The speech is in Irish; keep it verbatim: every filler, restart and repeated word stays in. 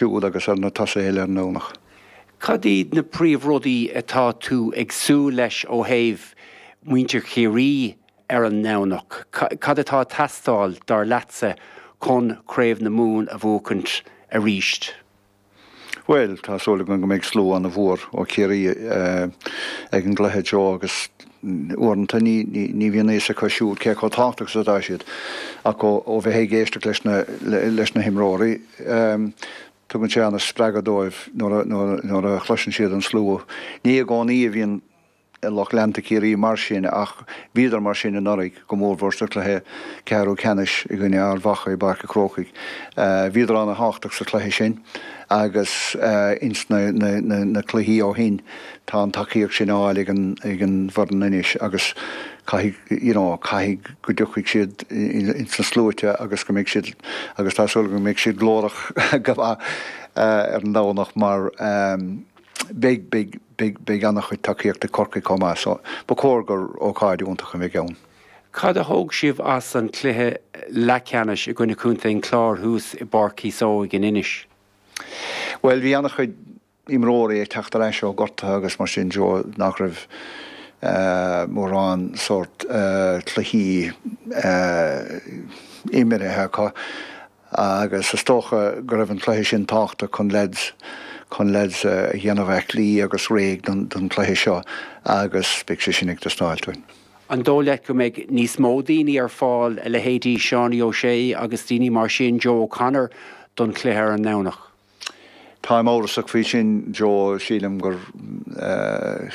siúd agus ar na tosaithe eile ar an nDomhnach. Cad iad na príomhrudaí atá tú ag súil leis ó thaobh muintir Chiarraí ar an nDomhnach? Cad atá ag teastáil dar leatsa chun Craobh na Mumhan a bhuachaint arís? Well, tá súil agam go mbeidh slua an-mhór ó Chiarraí ag an gcluiche Joe agus uaireanta ní ní bhíonn a fhios acu siúd cé chomh tábhachtach is atá siad ach ó bheith ag éisteacht leis na leis na himreoirí tugann sé an-spreagadh dóibh nuair a chloiseann siad an slua. Ní i gcónaí a bhíonn lucht leanta Chiarraí mar sin ach bhíodar mar sin anuraidh go mórmhór sa chluiche ceathrú ceannais i gcoinne Ard Mhacha i bPáirc an Chrócaigh. Bhíodar an-tábhachtach sa chluiche sin agus ins na, na, na, na cluichí ó shin tá an tacaíocht sin á fháil ag an, ag an bhfoireann anois agus caithfidh you know, caithfidh go dtiocfaidh siad ins na sluaite agus go mbeidh siad agus tá súil go mbeidh siad glórach go maith ar an Domhnach mar um, beidh beidh beidh beidh an-chuid tacaíocht ag Corcaigh chomh maith so ba chóir gur ócáid iontach a bheidh ann. Cad a thóg sibh as an cluiche leathcheannais i gcoinne Chontae an Chláir thuas i bPáirc Chíosóg in Inis? Well bhí an-chuid imreoirí ag teacht ar ais ó gortuithe agus mar sin Joe nach raibh uh, mórán sórt uh, cluichí uh, imeartha acu agus is dócha go raibh an cluiche sin tábhachtach chun lads chun lads a dhéanamh aclaí agus réidh don, don cluiche seo agus beidh sé sin ag teastáil uainn. An dóigh leat go mbeidh níos mó daoine ar fáil a leithéidí Seánie O'Shea agus daoine mar sin Joe O'Connor don chluiche ar an nDomhnach. Táim amhrasach faoi sin Joe sílim gur uh,